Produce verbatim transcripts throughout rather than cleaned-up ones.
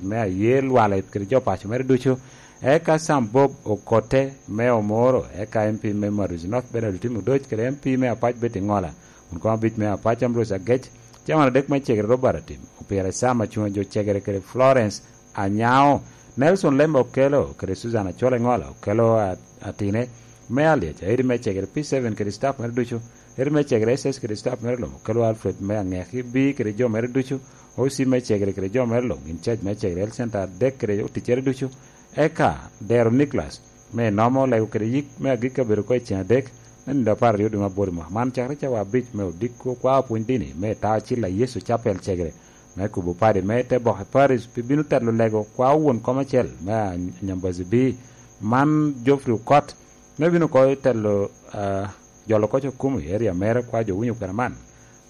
me aye lwale kede jo paco mere ducu. Eka Sam Bob Okote me Omoro, eka M P me Maduzi North Bernard Otim Odoc, kede M P me Apac Betty Ngola, kun kong abic me Apac Ambrose Agec, cawan adek me cegere Robert Atim, Opira Sam Acunga jo cegere kede Florence Anyao, Nelson Lembe Okelo, kede Susan Acol Engola Okelo a-, Atine, me Aliaca, edi me cegere P seven kede staff mere ducu, edi me cegere S S kede staff mere luŋ, Okelo Alfred me Aŋeki, B kede jo mere ducu, O C me cegere kede jo mere luŋ, in charge me cegere Health Center adek kede oticcere ducu, eka Dero Nicholas, me nomo lego kede yik me agikki abedo oko i ceŋ adek, me nino apar aryo dwe me aboro i mwaka man, cakere cawa abic me odiko, kwao pwony dini me Taacil a Yecu Capel cegere, me kubo padi me te boke Paris, pi bino telo lego kwao won kom acel me Anyambazi B, man Geoffrey Okot, me bino oko telo, ah, jolo koc okumo i area mere, kwa jo winyo kwena man,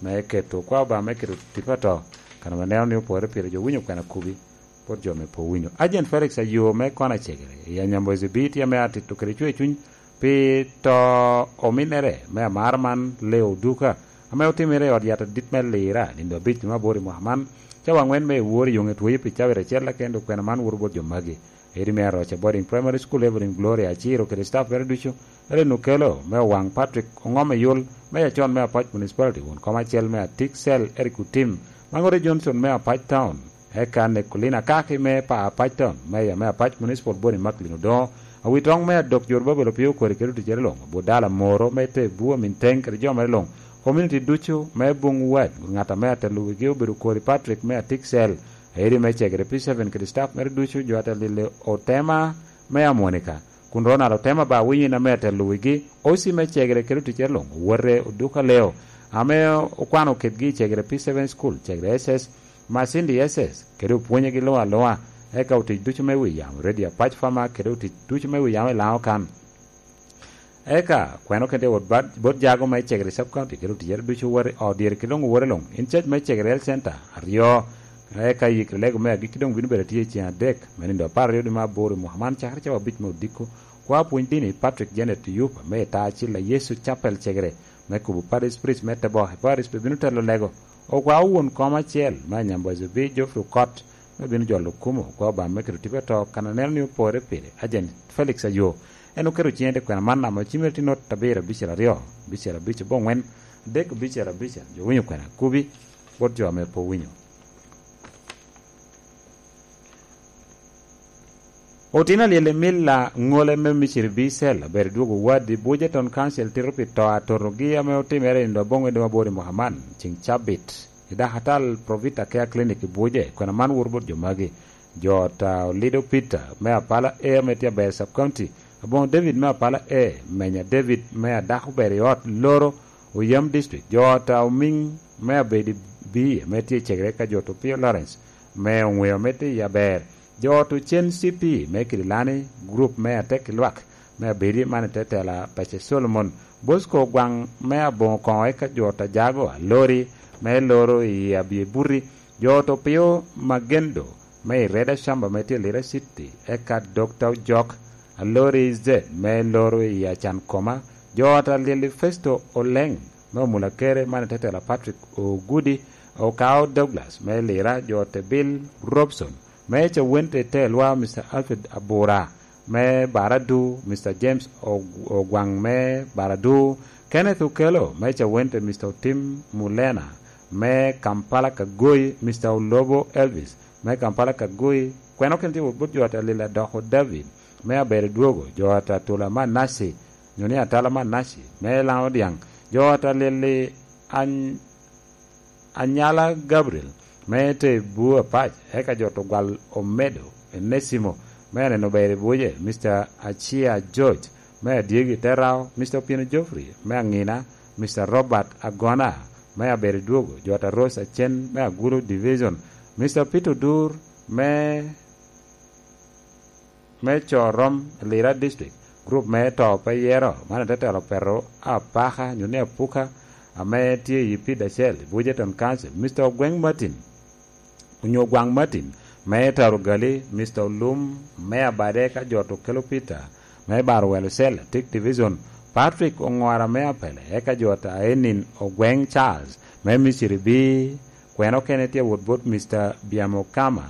me keto kwa Obama me keto tipo ato, kan ame neno ni opore pire jo winyo kwena kubi, pot jo me po winyo. Agent Felix Ayo me kona cegere, i Anyambozi B tye ame atito kede cwe cuny pi to ominere me amar man Leo Duka, ame otimere i ot yat adit me Lira, nindo abic me aboro i mwaka man, cawa angwen me ewor i yoŋe tweyo pi cabit acel akendo kwena man woro bot jo magi. Edi me Aroca Boarding Primary School, Evelyn Gloria Aciro kede staff mere ducu, Ellen Okello me Owaŋ, Patrick Oŋom Eyul me Acon me Apac Municipality, won kom acel me Atik Cell, Eric Otim, Maŋote Johnson me Apac Town, eka Nicolina Kaki me pa Apac Town, Mayor me Apac Municipal Boni Macklin Odoŋo, Awitoŋ me Adok Jorobabel Opio Okori kede oticere luŋ, Budala Moro me te Bua Minteng kede jo mere luŋ, community ducu me Buŋ Wad, ŋat ame atelo wigi obedo Okori Patrick me Atik Cell, Edi me cegere P seven kede staff mere ducu, jo ate lile Otema me Amonika, kun Ronald Otema ba winyo in ame ate luwigi, O C me cegere kede oticere luŋ, owote Oduka Leo, ame okwano kedgi i cegere P seven School, cegere S S, Masindi S S, kede opwonyegi luŋ aluŋa, eka otic ducu me wi yamo, Radio Apac Fama, kede otic ducu me wi yamo i Laŋo kan. Eka kweno kede wot bad, bot jago me cegere Sub County kede oticere ducu wot i ot dyere kede doŋ owote luŋ, in charge me cegere Health Center aryo. Eka yik lego me agikki doŋ bino bedo atye i ceŋ adek, me nindo apar aryo dwe me aboro i mwaka man, cakere cawa abic me odiko. Kwa pwony dini Patrick Janet Yup me Ita Acil a Yecu Chapel cegere, me kubo Parish Priest me Tebok i Parish pe bino telo lego. Okwa won kom acel me Anyambozo B Geoffrey Okot, me bino jolo okumo, kwa Obama me keto tipo ato, kan aneno ni opore pire. Agent Felix Ayo, en oketo ciŋe te kwena man ame ocimere tye not abiro abicel aryo, abicel abic aboŋwen, adek abicel abicel, jo winyo kwena kubi, bot jo ame pe owinyo. Otino alyel i Milla ŋole me Misiri B Cell, abedo dwogo wadi Buja Town Council tito pi to atotogi ame otimere i nino aboŋo i dwe aboro i mwaka man, ciŋ cabit. I dakatal Provita Care Clinic i Buja, kwena man woro bot jo magi. Jo ot a Olido Peter me Apala A ame tye aber Sub County, Aboŋo David me Apala A, Menya David me Adako ber i ot Loro, Oyam District, jo ot a Omiŋ me Abedi B ame tye i cegere ka jo ot Opio Lawrence me Oŋweo ame tye i aber, jo ot Ocen C P me Kidilani, group me Atek i Lwak me Abedi man i te tela Pace Solomon, Bosco Ogwaŋ me Aboŋo Koŋo eka jo ot Ajago Alori me Loro i Abyebuti, jo ot Opio Magendo me i Reda Shamba me tye i Lira City, eka Dokta Ojok Alori Z me Loro i Acan Koma, jo ot Alyel i Festo Oleŋ me Omula Kere man i te tela Patrick Ogudi, Okao Douglas me Lira, jo ot Bill Robson me Cawente i te lwa, Mister Alfred Abura me Baradu, Mister James Og-, Ogwaŋ me Baradu, Kenneth Okello me Cawente, Mister Otim Mulena me Kampala Kagoi, Mister Olobo Elvis me Kampala Kagoi, kweno ken tye wot bot jo ot Alila Doko David me Abere Dwogo, jo ot Atula Manasi, nyo ni Atala Manasi me Laŋo Dyaŋ, jo ot Alili Any-, Anyala Gabriel me te Buu Apac, eka jo ot Ogwal Omedo Enesimo me Aneno Ber i Buje, Mister Achia George me Adyegi Terao, Mister Opieno Geoffrey me Aŋina, Mister Robert Agona me Abere Dwogo, jo ot Aros Acen me Agulu Division, Mister Peter Odur me, me Corom Lira District, group me To Pe Yero, man atetelo Petero Apaka, nyo ni Apuka, ame tye i Pid Acel, i Buja Town Council, Mister Ogweng Martin, onyo Ogwaŋ Martin, me Taro Gali, Mister Olum, me Abade ka jo ot Okello Peter, me Baro Welo Cell, Tik Division, Patrick Oŋora me Apele, eka jo ot Aenin Ogweng Charles, me Misiri B, kweno kene tye wot bot Mister Biamo Kama,